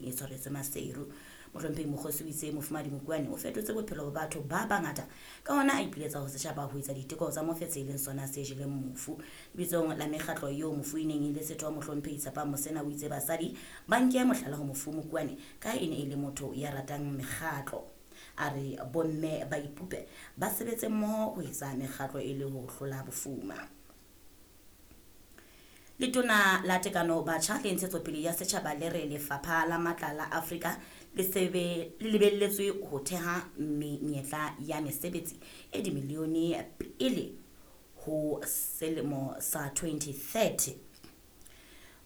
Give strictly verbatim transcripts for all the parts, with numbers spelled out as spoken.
e tshwaretswe Maseru. Mohlomphehi Mokgosi o itse Mofumahadi Mokuane o fetotse bophelo ba batho ba bangata, ka hona a ipiletsa ho setjhaba ho etsa diteko tsa mofetshe e leng sona se jeleng mofu. Lebitsong la mekgatlo eo mofu e neng e le setho, Mohlomphehi Tshepang Mosena o itse basadi ba nke mohlala ho mofu Mokuane ka e ne e le motho ya ratang mekgatlo. A re bomme ba ipope ba sebetse mmoho ho etsa mekgatlo e le ho hlola bofuma. Letona la Tekano Batjha le Ntshetsopele ya Setjhaba le re Lefapha la Matla la Afrika le sebe le lebelletswe ho theha menyetla ya mesebetsi e dimilione pele ho selemo sa twenty thirty.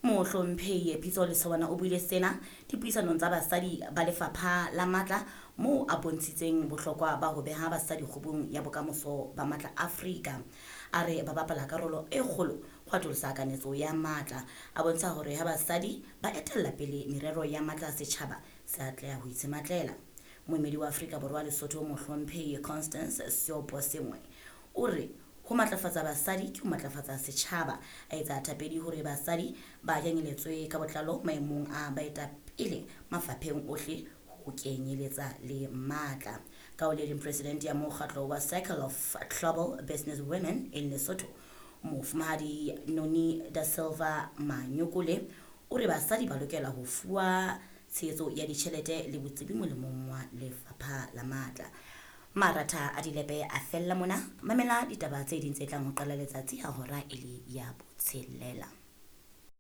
Mohlomphehi Pitso Lesawana o buile sena dipuisanong tsa basadi ba Lefapha la Matla moo a bontshitseng bohlokwa ba ho beha basadi kgubung ya bokamoso ba matla Afrika. A re ba bapala karolo e kgolo ho atolosa kanetso ya matla. A bontsha hore ha basadi ba etella pele merero ya matla setjhaba se atleha ho itshematlela. Moemedi wa Afrika Borwa Lesotho Mohlomphehi Constance Seoposengwe o re ho matlafatsa basadi ke ho matlafatsa setjhaba. A etsa thapedi hore basadi ba kenyeletswe ka botlalo maemong a baetapele mafapheng ohle ho kenyeletsa le matla. Ka ho le leng, president ya mokgatlo wa Circle of Global Business Women in Lesotho, Mofumahadi Noni da Silva Manyokole, o re basadi ba lokela ho fuwa tshehetso ya ditjhelete le botsebi molemong wa Lefapha la Matla. Maratha a dilepe a fella mona. Mamela ditaba tse ding tse tlang ho qala letsatsi ha hora e le ya botshelela.